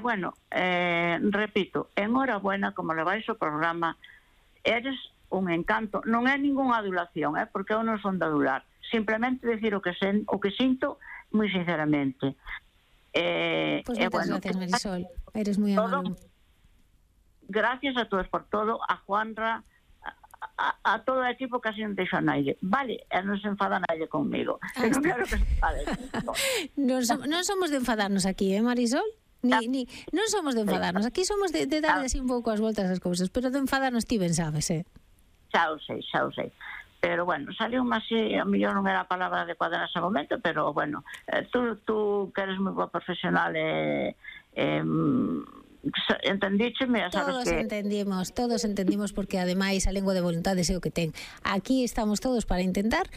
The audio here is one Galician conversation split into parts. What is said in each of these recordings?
Bueno, repito, enhorabuena como levais o programa, eres un encanto, non é ningunha adulación, porque eu non son de adular, simplemente decir o que sinto moi sinceramente. Pois moitas gracias, Marisol, eres moi amable. Gracias a todos por todo, a Juanra, a todo o equipo que así non deixo a nadie, vale, e non se enfada nadie conmigo, que non quero que se enfade. Non somos de enfadarnos aquí, Marisol? Non somos de enfadarnos, aquí somos de darle así un pouco as voltas ás cousas, pero de enfadarnos ti ben sabes, Xa o sei. Pero bueno, saliu así, a mellor non era a palabra adecuada nese momento, pero bueno, tú que eres moi boa profesional entendícheme, sabes que... Todos entendimos, porque ademais a lengua de voluntades é o que ten. Aquí estamos todos para intentar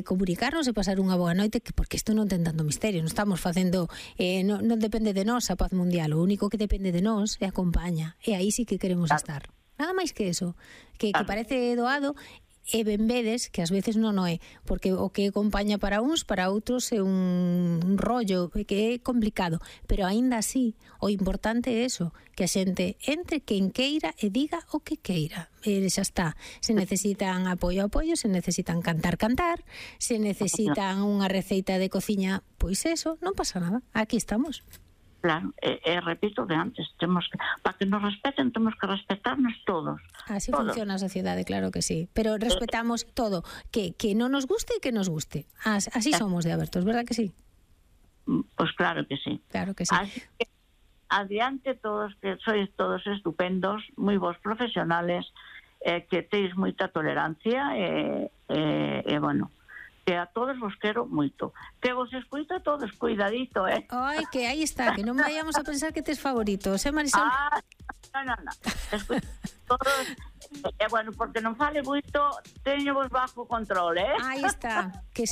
comunicarnos e pasar unha boa noite, porque isto non ten tanto misterio, non estamos facendo, non depende de nós a paz mundial, o único que depende de nós é a compaña, e aí sí que queremos estar. Nada máis que eso, que parece doado, e ben vedes que ás veces non o é, porque o que acompaña para uns, para outros é un rollo que é complicado, pero aínda así o importante é eso, que a xente entre quen queira e diga o que queira, e xa está. Se necesitan apoio, se necesitan cantar, se necesitan unha receita de cociña, pois eso, non pasa nada, aquí estamos. Claro, repito de antes, para que nos respeten temos que respetarnos todos. Así funciona a sociedade, claro que sí. Pero respetamos todo, que non nos guste e que nos guste. Así somos de abertos, verdad que sí? Pois claro que sí. Claro que sí. Así que adiante todos, que sois todos estupendos, moi vos profesionales, que teis moita tolerancia e bueno, que a todos vos quero moito. Que vos escuito a todos, cuidadito, Ai, que aí está, que non vayamos a pensar que tes favoritos, Marisol? Non. Escuito todos, bueno, porque non fale moito, teño vos bajo control, Aí está, que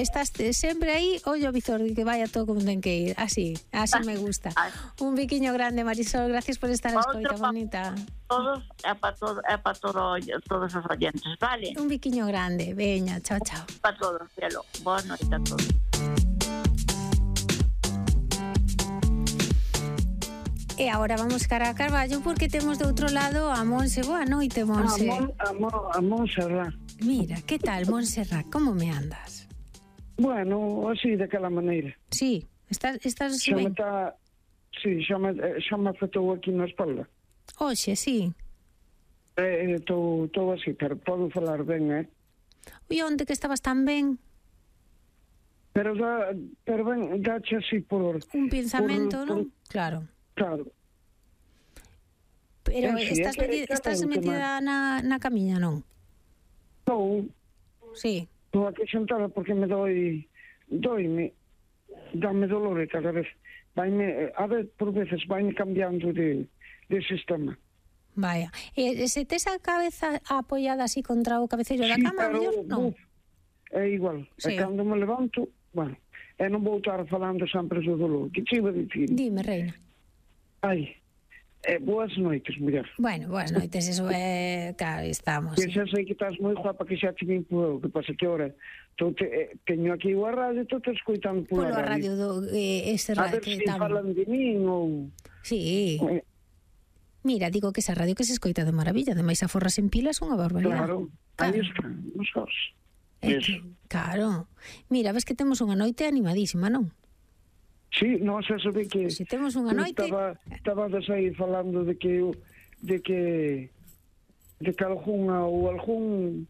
estás sempre aí, ollo visor, que vaya todo como ten que ir, así me gusta. Un biquiño grande, Marisol, gracias por estar a escoita, bonita. Todos, é para todos os oyentes, vale? Un biquiño grande, veña, chao. Para todos, cielo, boa noite a todos. E agora vamos cara a Carballo, porque temos de outro lado a Monse. Boa noite, Monse. A Montserrat. Mira, que tal, Montserrat? Como me andas? Bueno, así, daquela maneira. Sí, estás ben? Sí, xa me afectou aquí na espalda. Oxe, sí. Estou así, pero podo falar ben, E onde que estabas tan ben? Pero ben, dache así por... Un pensamento, non? Claro. Pero estás metida na camiña, non? Non. Sí. Estou aquí sentada porque me dame dolor cada vez. A ver, por veces vaime cambiando de sistema. Vaya. E se tes a cabeza apoiada así contra o cabeceiro da cama, mellor non? É igual. Sí. E cando me levanto, bueno, non vou estar falando sempre do dolor. Que te iba a dicir? Dime, reina. Boas noites, muller. Bueno, boas noites, eso é... Claro, estamos. Que xa sei que estás moi guapa, que xa te vim por... Que pasa que ahora teño aquí a radio, estou te escoitando por a radio. Ese radio. A ver se falan de min ou... Sí. Mira, digo que esa radio que se escoita de maravilla, ademais a forras en pilas unha barbaridade. Claro, aí están, nos os. Claro. Mira, ves que temos unha noite animadísima, non? Sí, non se sabe que... Se temos unha noite... Estaba aí falando de que algún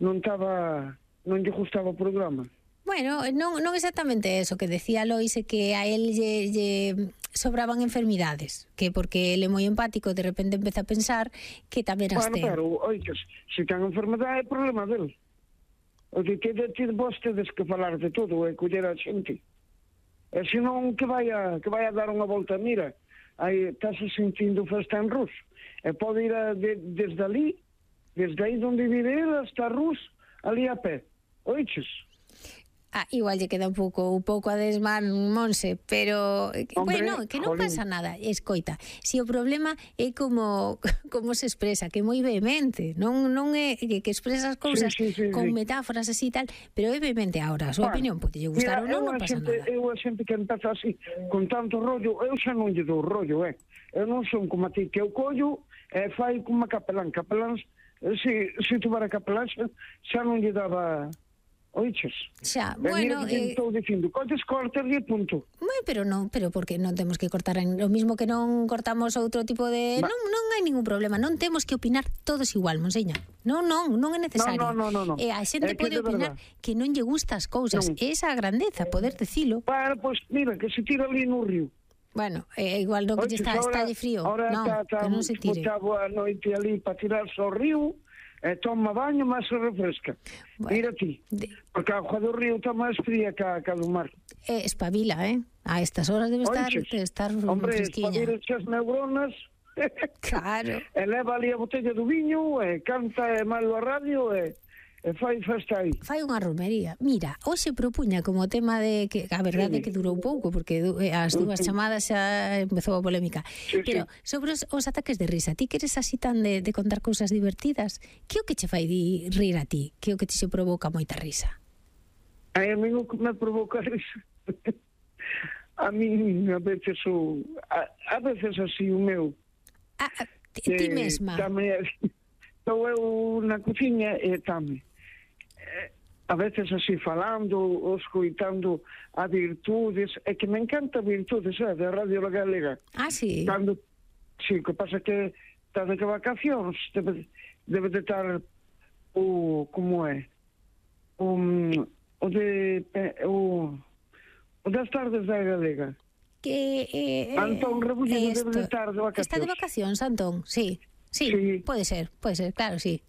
non lle gustaba o programa. Bueno, non exactamente eso que decía Lois, que a él lle sobraban enfermidades, que porque ele é moi empático, de repente empeza a pensar que tamén as ten. Bueno, pero, oiches, se ten enfermedade é problema del. O de que vos tedes que falar de todo e coller a xente. E senón que vai a dar unha volta, mira, aí estás sentindo festa en Rus, e pode ir desde aí onde vive ele hasta Rus, ali a pé, oiches? Igual lle queda un pouco a desman, Monse, pero Hombre, bueno, que non jolín. pasa nada. Escoita, si o problema é como se expresa, que é moi vehemente, non é que expresas cousas Sí. con metáforas así e tal, pero é vehemente. Ahora, a súa opinión pode lle gustar ou non, non pasa nada. Eu a xente que empeza así, con tanto rollo, eu xa non lle dou rollo, Eu non son como a ti, que eu collo e fai como a capelán. Capelán, se tuvera capelán, xa non lle daba... Oiches? Xa, Mira bueno, que estou dicindo, cortes e punto. pero porque non temos que cortar o mismo que non cortamos outro tipo de... Non hai ningún problema, non temos que opinar todos igual, Monseña. Non é necesario. No. A xente É que pode de opinar verdad. que non lle gusta as cousas. Non. Esa grandeza, poder dicilo. Para, pois, mira, que se tira ali no río. Bueno, igual non que lle está de frío. Ahora Non, que non se tire. Botaba a noite ali para tirarse ao río, e toma baño, mas se refresca. Bueno, Mira ti, porque a agua do río está máis fría que a do mar. Espabila, A estas horas debe estar Hombre, fresquiña. espabila as neuronas, Claro. e leva ali a botella do viño, e canta e malo a radio, e fai festa aí. Fai unha romería. Mira, hoxe propuña como tema de que a verdade é que durou pouco porque as dúas chamadas xa empezou a polémica. Sí. Pero sobre os ataques de risa, ti que eres así tan de contar cousas divertidas, que é o que che fai rir a ti? Que é o que te se provoca moita risa? A mí o que me provoca risa. A mí a veces así o meu. Ti mesma. Estou eu na cociña e tame. A veces así falando, ou escoitando a virtudes, é que me encanta virtudes, da Radio Galega. Sí? Sí, que pasa que está de vacacións, debe de estar como é? O das tardes da Galega. Antón Rebullido debe de estar de vacacións. Está de vacacións, Antón, sí, pode ser, claro, sí.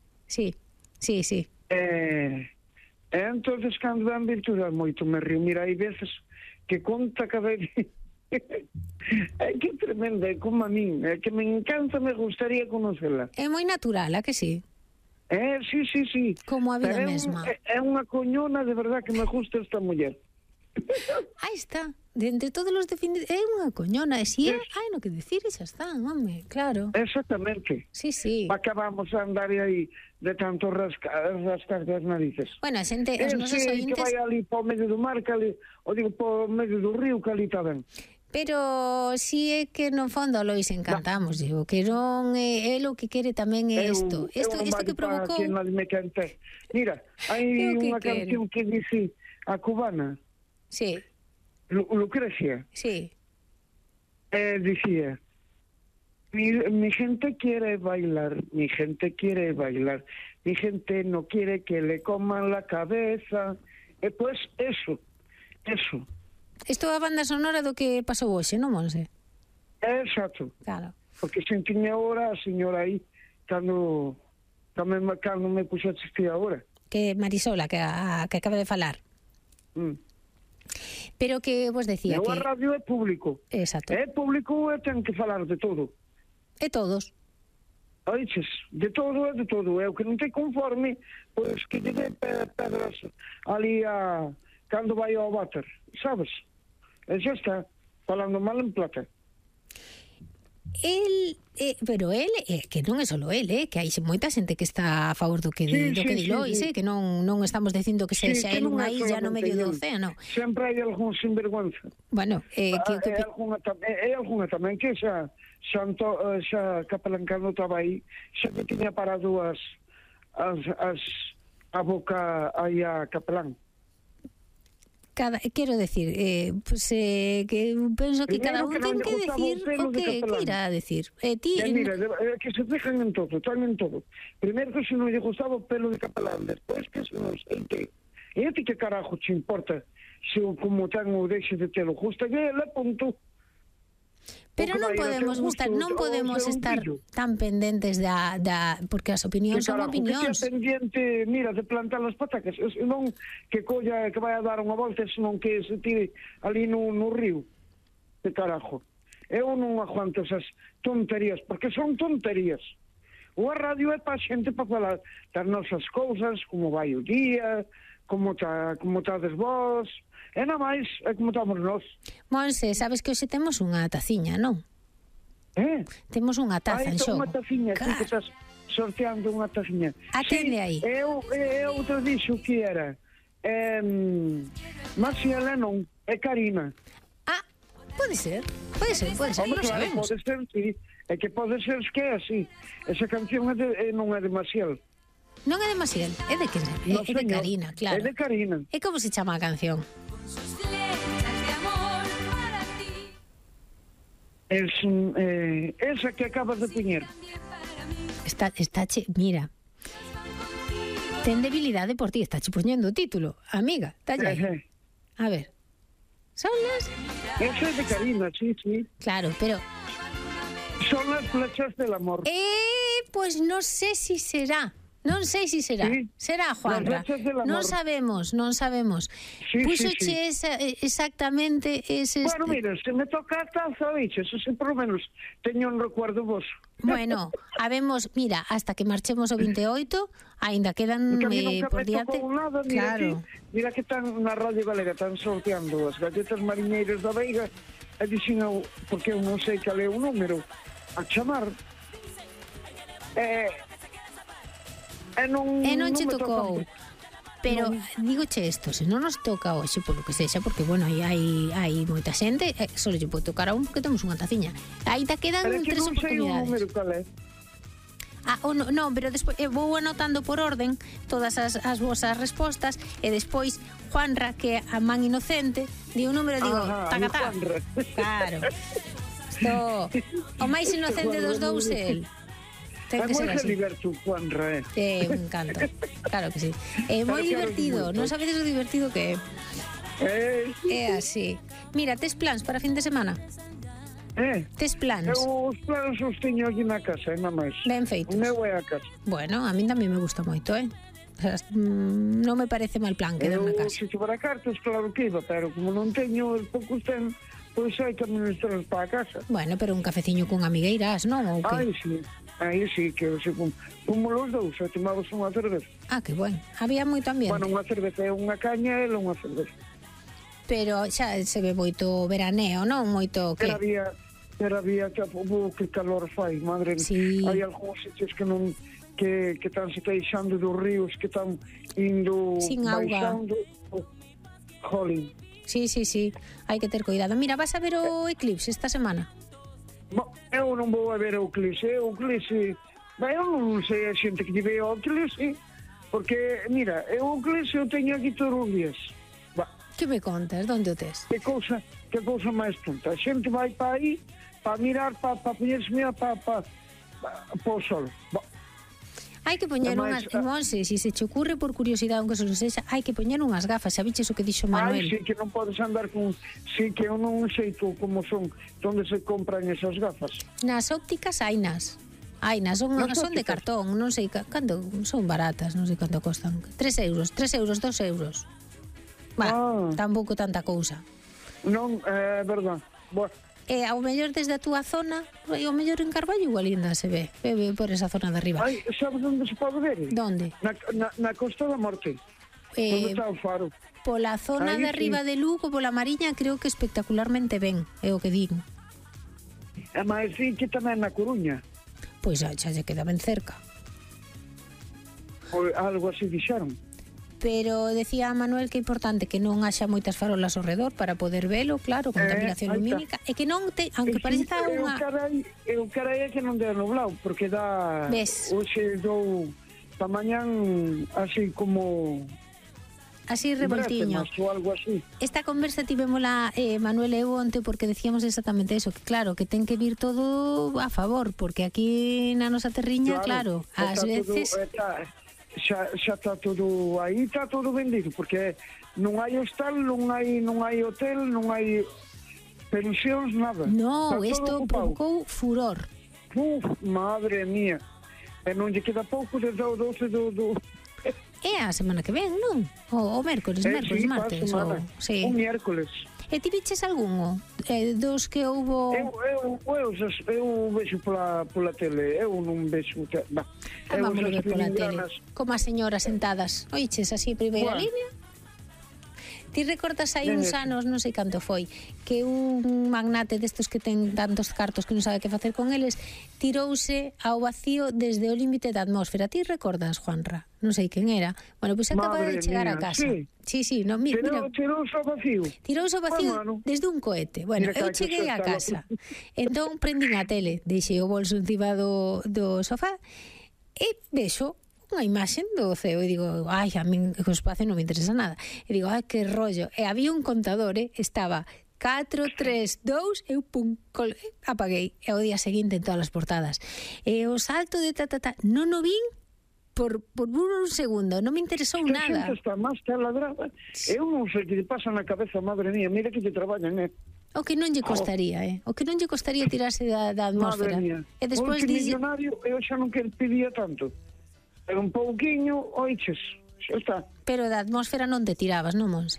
Entonces, cando dan virtude, moito me río. Mira, hai veces que conta cada día. É que tremenda, é como a min. É que me encanta, me gustaría conocela. É moi natural, a que sí? Sí. Como a vida mesma. É unha coñona, de verdad, que me gusta esta muller. Aí está. De entre todos os definidos, é unha coñona. E si hai no que decir, e xa está, home, claro. Exactamente. Sí. Acabamos a andar aí de tanto rascar das narices. Bueno, a xente, os nosos ointes... Que vai ali para o medio do mar, que ali, para o medio do río, que ali está ben. Pero si é que no fondo Lois encantamos, digo, que non é o que quere tamén é isto. Isto que provocou... Mira, hai unha canción que dice a cubana. Sí. Lucrecia. Sí. Dicía, mi gente quiere bailar, mi gente quiere bailar, mi gente no quiere que le coman la cabeza. Pues eso. Isto é a banda sonora do que pasou hoxe, non, Monse? Exacto. Claro. Porque sentiña ahora a señora aí, cando me puxo a assistir agora. Que Marisola, que acaba de falar. Pero que vos decía que... A radio é público. Exacto. É público e ten que falar de todo. E todos. Oiches, de todo. É o que non te conforme, pois que lle dé pedras ali cando vai ao váter, sabes? E xa está, falando mal en plata. Pero él, que non é só él, que hai moita xente que está a favor do que di Lois, que non estamos dicindo que sexa él unha illa no medio do océano. Sempre hai algún sinvergüenza. Bueno, é algunha tamén que xa Capelán cando estaba aí, xa que tiña parado a boca aí a Capelán. Quero decir, que penso que cada un ten que decir o que irá a decir. Mira, que se fijan en todo, están en todo. Primeiro que se non lle gustaba o pelo de Capelán, despois que se non sei que. E a ti que carajo te importa se como ten ou deixe de telo? Gusta que ele, punto. Pero non podemos estar tan pendentes porque as opinións son opinións. Que pendiente, mira, de plantar as patacas, non que colla, que vai a dar unha volta, senón que se tire ali no río. De carajo. Eu non aguanto esas tonterías, porque son tonterías. O radio é para a xente para falar das nosas cousas, como vai o día, como estades vos, e nada máis, é como estamos nós. Monse, sabes que hoxe temos unha taciña, non? Temos unha taza en xogo. Unha taciña, claro. Que estás sorteando unha taciña. Atende aí. Eu te dixo que era Marcia Lennon e Karina. Pode ser, Hombre, non claro, sabemos. pode ser, sí. É que pode ser que é así. Esa canción non é de Maciel. Non é de Maciel, é de quen? No, É de Karina, claro. É de Karina. E como se chama a canción? Esa que acabas de poñer. Mira. Ten debilidade por ti, está che poñendo o título, amiga, talla aí. A ver. Son las... Esa é de Karina, sí. Claro, pero... Son las flechas del amor. Pues non sei si será. Non sei si será. Sí. Será, Juanra. Non sabemos. Sí, Púxoche exactamente ese... Bueno, mira, se me toca a taza, bicho, eso sí, por lo menos teño un recuerdo vos. Bueno, habemos, mira, hasta que marchemos o 28, aínda quedan por diante. Nada, claro. Mira que están na Radio Galega, están sorteando as galletas mariñeiras da Veiga, e dixen eu, porque eu non sei cal é o número a chamar, e non che tocou. Pero dígoche isto, se non nos toca hoxe, polo que sexa, porque bueno, hai moita xente, só lle pode tocar a un porque temos unha taciña. Aínda quedan 3 oportunidades. Non sei o número cal é. Non, pero despois vou anotando por orden todas as vosas respostas e despois Juanra, que é a man inocente, di un número, digo, tacatá. Claro. O máis inocente dos dous é el. É moi divertido, Juanra, é un encanto, claro que sí. É moi divertido, non sabedes o divertido que é. É así. Mira, tes plans para fin de semana? Tes plans? Eu os plans os teño aquí na casa, nada máis. Ben feitos. O meu é a casa. Bueno, a min tamén me gusta moito, O sea, non me parece mal plan quedar na casa. Se chupara cartas, claro que iba, pero como non teño os poucos ten, pois hai que administrar para a casa. Bueno, pero un cafeciño con amigueiras, non? Ou que? Aí sí, que se como los dous, e tomamos unha cerveza. Que bueno. Había moito ambiente. Bueno, unha cerveza é unha caña e unha cerveza. Pero xa se ve moito veraneo, non? Moito que... Pero había que calor fai, madre. Sí. Hai algúns sitios que non que están se queixando dos ríos que están indo sin auga. Jolín. Sí. Hai que ter cuidado. Mira, vas a ver o eclipse esta semana? Eu non vou a ver o eclipse. Eu non sei a xente que lle ve o eclipse, porque, mira, o eclipse eu teño aquí todos os días. Que me contas? Donde o tes? Que cousa máis tonta. A xente vai para aí, para mirar, para poñerse para o sol. Hai que poñer unhas, Monse, se se che ocurre por curiosidade, aunque solo sexa, hai que poñer unhas gafas, sabiches o que dixo Manuel? Sí, que non podes andar con... Sí, que eu non sei tú como son, onde se compran esas gafas. Nas ópticas hainas, son de cartón, non sei canto, son baratas, non sei canto costan. 3 euros, 2 euros. Tampouco tanta cousa. Non, é verdad. Ao mellor desde a túa zona, ao mellor en Carballo igual ainda se ve por esa zona de arriba. Sabes onde se pode ver? Donde? Na Costa da Morte. Onde está o faro. Pola zona de arriba de Lugo, pola Mariña, creo que espectacularmente ben, é o que digo. E máis sí que tamén na Coruña. Pois xa lle queda ben cerca. Algo así dixeron. Pero decía Manuel que é importante que non haxa moitas farolas ao redor para poder velo, claro, contaminación lumínica, e que non te, aunque pareza unha... O carai é que non dea nublado, porque dá... Ves? Hoxe dou pa mañán así como... Así revoltiño. Ou algo así. Esta conversa tivémola Manuel e eu onte porque decíamos exactamente eso, que claro, que ten que vir todo a favor, porque aquí na nosa terriña, claro ás veces... Xa está todo aí, está todo vendido, porque non hai hostal, non hai hotel, non hai pensións, nada. No, isto provocou furor. Madre mía. E non lle queda pouco desde o 12 do... É a semana que ven, non? O mércoles, martes. Sí. O miércoles. E ti viches algún dos que houbo... Eu vexo pola tele, eu non vexo... Vamos a ver pola tele, como as señoras sentadas. Oiches así, primeira línea, Ti recordas hai uns anos, non sei canto foi, que un magnate destos que ten tantos cartos que non sabe que facer con eles, tirouse ao vacío desde o límite da atmósfera. Ti recordas, Juanra? Non sei quen era. Bueno, pois acaba de chegar a casa. Sí, no, mira. Tirouse ao vacío. Tirouse ao vacío desde un cohete. Bueno, eu cheguei a casa. Entón prendín a tele, deixei o bolso encima do sofá e vexo unha imaxen do ceo e digo, ai, a min o espacio non me interesa nada. E digo, ai, que rollo. E había un contador, estaba 4, 3, 2, eu pum, apaguei. E o día seguinte en todas as portadas. E o salto de non o vin por un segundo, non me interesou nada. A xente está máis taladrada. Eu non sei que te pasa na cabeza, madre mía, mira que te traballan, O que non lle costaría, O que non lle costaría tirarse da atmósfera. Madre mía. E despois millonario, eu xa non que pedía tanto. Era un pouquiño, oiches, xa está. Pero da atmósfera non te tirabas, non, Monse?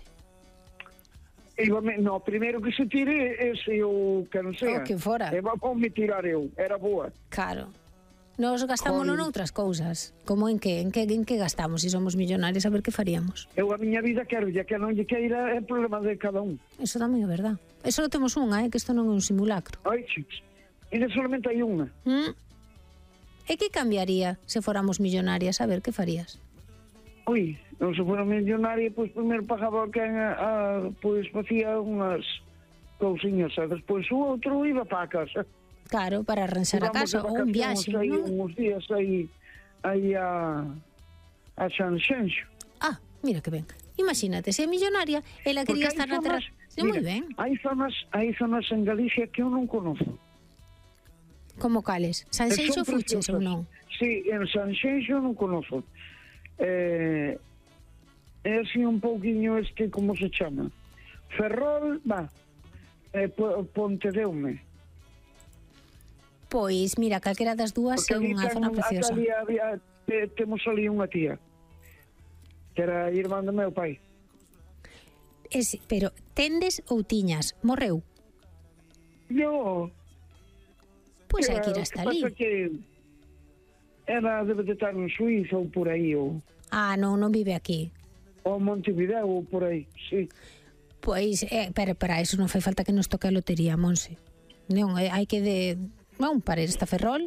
No, primeiro que se tire, ese o que non sea. O que fora. E vamos me tirar eu, era boa. Claro. Nos gastámonos noutras cousas. Como en que gastamos? Se somos millonarios, a ver que faríamos. Eu a miña vida quero, ya que non lle queira, é problema de cada un. Eso tamén é verdad. Eso lo temos unha, que isto non é un simulacro. Oiches, e solamente hai unha. E que cambiaría se fóramos millonarias? A ver, que farías? Ui, non se fora millonaria, pois primeiro pagaba quen pois facía unhas cousiñas, e despois o outro iba para a casa. Claro, para arranxar a casa ou un viaxe, non? Uns días aí a Sanxenxo. Ah, mira que ben. Imagínate, se é millonaria, ela quería estar na terra. Moi ben. Hai zonas en Galicia que eu non conozco. Como cales? Sanxenxo fuches ou non? Sí, en Sanxenxo non conozco. É así un pouquiño como se chama? Ferrol, Pontedeume. Pois, mira, calquera das dúas é unha zona preciosa. Temos ali unha tía, que era irmán do meu pai. Pero, tendes ou tiñas? Morreu? Yo... Pois hai que ir hasta ali. Pasa que debe de estar en Suiza ou por aí, ou... Ah, non vive aquí. Ou Montevideo ou por aí, sí. Pois, pero para iso non fai falta que nos toque a lotería, Monse. Non, hai que para esta Ferrol.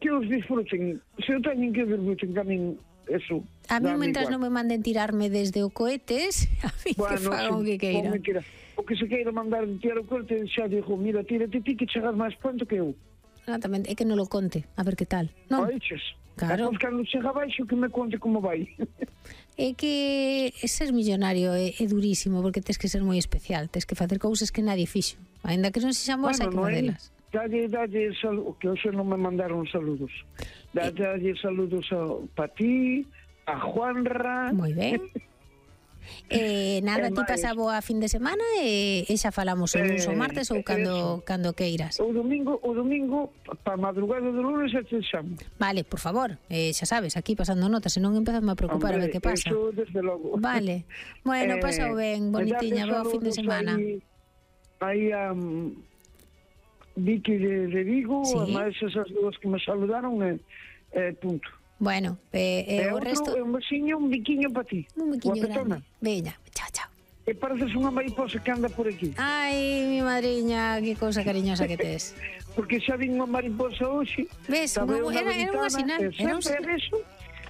Que os disfruten. Se eu teñen que disfruten, que a min eso... A mí, mentras non me manden tirarme desde o cohetes, a mí que fagan o que queira. O que se queira mandar tirar o cohete, xa dixo, mira, tírate ti que chegas máis pronto que eu. Exatamente, é que non lo conte, a ver que tal. Non? Oiches, claro. Depois cando chega baixo que me conte como vai. É que ser millonario é durísimo, porque tes que ser moi especial, tes que facer cousas que nadie fixo. Ainda que non se xamos, hai que facelas. Dalle saludos, que hoxe non me mandaron saludos. Dalle saludos para ti, a Juanra. Moi ben. Nada, ti pasa boa fin de semana e xa falamos o lunes ou martes ou cando queiras. O domingo para madrugada do lunes te chamo. Vale, por favor, xa sabes, aquí pasando notas, senón empezame a preocupar. Hombre, a ver que pasa. Eso desde logo. Vale, bueno, pasa ben, bonitiña, boa fin de semana. Aí a Vicky de Vigo, sí. Además esas dúas que me saludaron, punto. Bueno, o resto... Un besiño, un biquiño para ti. Un biquiño grande. Veña, chao. E pareces unha mariposa que anda por aquí. Ai, mi madriña, que cousa cariñosa que tes. Porque xa vin unha mariposa hoxe. Ves, era unha sinal.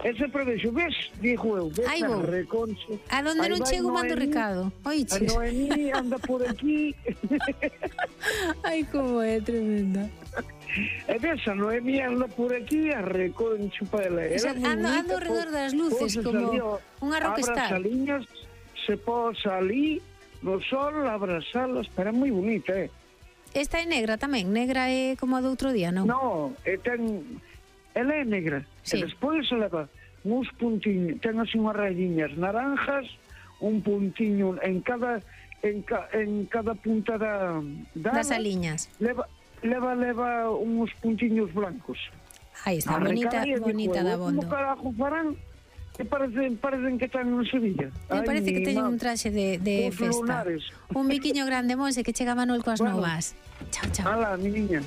E sempre vexo, ves, dixo eu, ves na reconche. A donde non chego mando recado. Oiches. A Noemí anda por aquí. Ai, como é tremenda. E ves, a Noemí anda por aquí a reconcho para ela. Ando alrededor das luces, como unha rockstar. Abra as aliñas, se posa ali no sol, abrazalas, pero é moi bonita, Esta é negra tamén, negra é como a do outro día, non? No, ela é negra, sí. E despois leva uns puntiños, ten así unhas rayiñas naranjas, un puntiño en cada punta das aliñas. Leva uns puntiños blancos. Aí está, bonita da bondo. Como carajo farán? Que parecen que están en Sevilla. Me parece que teñen un traxe de festa. Lunares. Un biquiño grande, Monse, que chega Manuel coas novas. Chao. Hala, mi niña.